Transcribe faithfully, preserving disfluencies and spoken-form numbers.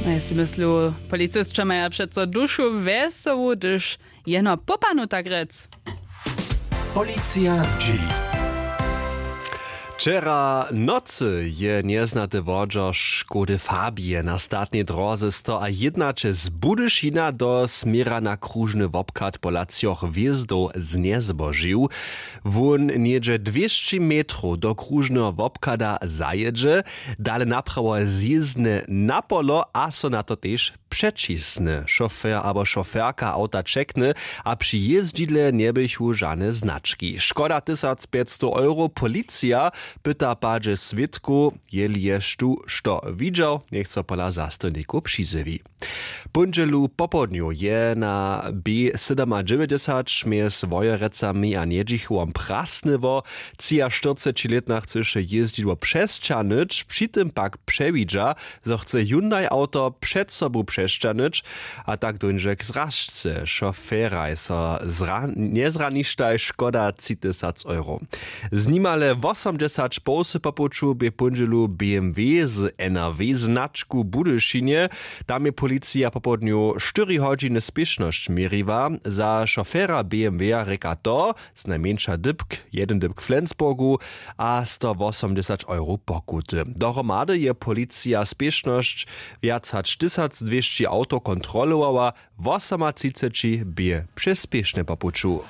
Mjez myslu, policisće maja přeco dušu wjesołu, hdyž jeno pópanu tak rjec. Policija zdźěli. Wčera nocy je njeznate wodźo škody fabije na statnej dróze sto a jednaće z budyšina do směra na kružny wobchad pola třoch hwězdow znjezbožił. Wón něhdźe dwěsći metrow do kružneho wobchada zajědźe, dale naprawo zjězdne na polo a so na to tež přećisny. Šofer abo šoferka awta ćekny a při jězdźidle njeběchu žane znački. Škoda tysacpjećstow euro. Policija pyta padźe swědkow, jeli je štó što widźał, njech so pola zastojnikow přizjewi. Póndźelu popołdnju je na b sydomadźewjećdźesać mjez wojerecami a njedźichowom prasnyło. Třiaštyrcećilětna chcyše jězdźidło přesćahnyć, při tym pak přewidźa, zo chce hyundai awto před sobu přesćahnyć, a tak dóńdźe k zražce. Šoferaj so zra- njezraništaj, škoda tři tysac euro. Z nimale wosomdźesać połsy po puću bě póndźelu bmw z nrw značku w budyšinje. Tam je policija popołdnju štyri hodźiny spěšnosć měriła. Za šofera bmw-a rěka to, znajmjeńša dypk, jedyn dypk w flensburgu a sto wosomdźesać euro pokuty. Dohromady je policija spěšnosć wjac hač tysacdwěsći awtow kontrolowała. Wosomatřiceći bě přespěšne po puću.